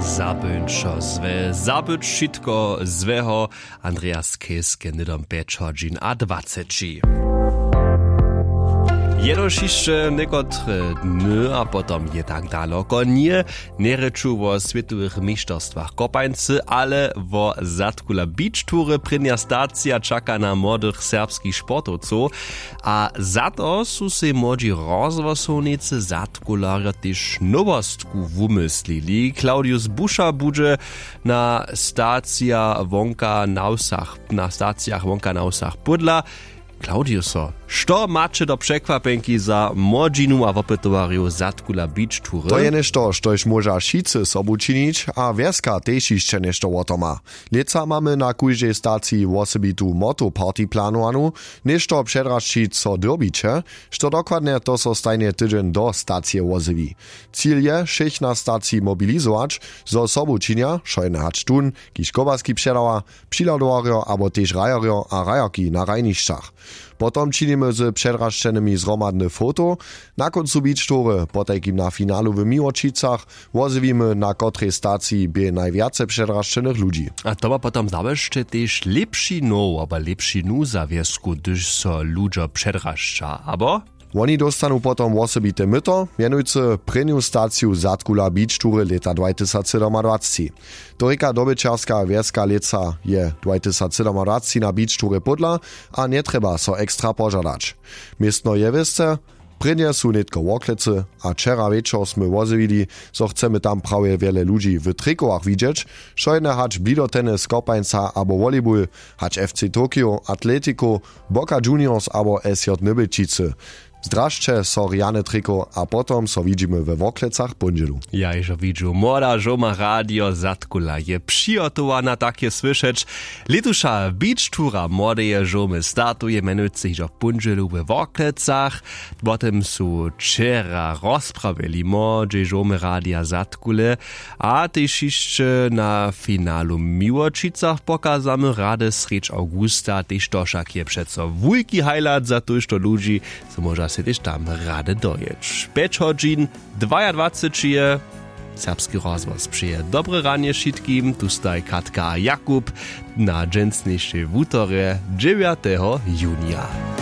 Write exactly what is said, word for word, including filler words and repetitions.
Zabyć wšo złe, zabyć wšitko złeho. Andreas Keske hnydom pjeć hodźin a dwaceći. Jenož hišće někotre dny a potom je tak daloko nje. Njerěču wo swětowych mišterstwach kopańcy, ale wo zadkula beach toury. Prěnja stacija čaka na młodych serbskich sportowcow. A za to su sej młodźi rozhłosownicy zadkularjo tež nowostku wumyslili. Claudius Buša budźe na stacija wonka na wsach na stacijach wonka na wsach pódla. Claudiuso, što maće do překwapjenki za młodźinu a wopytowarjow zadkula beach toury? To je něšto, štož móža wšitcy sobu činić, a wjeska tež hišće něšto wo to ma. Lětsa mamy na kóždej staciji wosebitu motoparty planowanu. Něšto předrašćić so dyrbiće, što dokładnje, to so stajnje tydźeń do stacije wozjewi. Cil je wšěch na staciji mobilizować, zo sobu činja wšojene hač tón, kiž kobaski předawa, přihladowarjo abo tež hrajerjo a hrajerki na hrajnišćach. Potom činimy z předrašćenymi zhromadny foto. Na kóncu beach toury, potajkim na finalu w Miłočicach, wozjewimy, na kotrej staciji bě najwjace předrašćenych ludźi. A to ma potom zawěsće tež lěpši now abo lěpši nuza wjesku, hdyž so ludźo předrašća, abo? Woni dóstanu potom wosebite myto, mjenujcy prěnju staciju zadkula beach toury lěta dwajtysacsydomadwacci. To rěka dobyćerska wjeska lětsa je dwajtysacsydomadwacci na beach toury pódla, a njetrjeba so ekstra požadać. Městno je wěsce. Prěnje su nětko worklecy, a wčera wječor smy wozjewili, zo chcemy tam prawje wjele ludźi w trikowach widźeć, wšojene hač blido tennis, kopańca abo volleyball, hač fc tokio, atletikow, boca juniors abo sj nybelčicy. Zdrasće so rjane triko a potom so widźimy we worklecach póndźelu. Ja hižo widźu, młoda žołma radio zadkula je přihotowana, tak je słyšeć. Lětuša beach toura młodeje žołmy startuje mjenujcy hižo póndźelu we worklecach. Wo tym su wčera rozprawili młodźej žołmy radia zadkule. A tež hišće na finalu w Miłočicach pokazamy rady srjedź awgusta, tež to wšak je přeco wulki highlight za tójšto ludźi, zo móža sej tež tam rady dojěć. Pjeć hodźin dwajadwaceći je. Serbski rozhłos přeje dobre ranje wšitkim, tu staj Katka a Jakub na dźensnišej wutorje, dźewjateho junija.